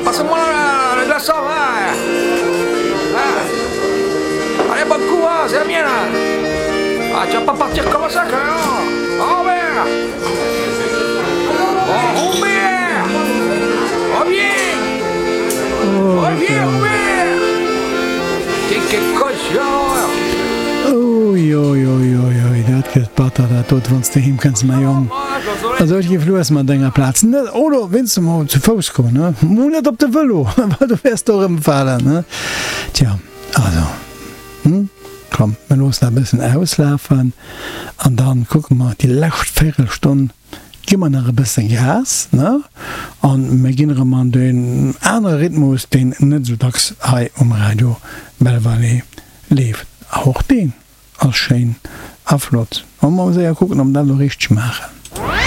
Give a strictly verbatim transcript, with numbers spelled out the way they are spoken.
Passe-moi le glaçon, hein. Ah. Allez, bon coup, hein, c'est la mienne. Ah, tu vas pas partir comme ça, quand même. Robert. Oh, Robert. Reviens. Reviens, Robert. T'es quel cochon. Ui, ui, ui, ui, ui, dat gëtt batter, dat dot, wann s de heem kënns, mäi Jong. Also ech géif lues mat denger Plaz net, oder wéinst mol zu Fouss goen, ne? Mol net op de Vëlo, well du wäers do erëmfalen, ne? Tja, also, hm, komm, mir loossen dat e bëssen auslafen an dann kucke mer déi lescht Véirelstonn gi mer nach e bësse Gas, ne? An mir ginn erëm an deen anere Rhythmus, deen net esou dacks hei um Radio Belval leeft. Och deen ass schéin a flott. Wollen mer mol séier kucken, ob mer dat elo richteg maachen.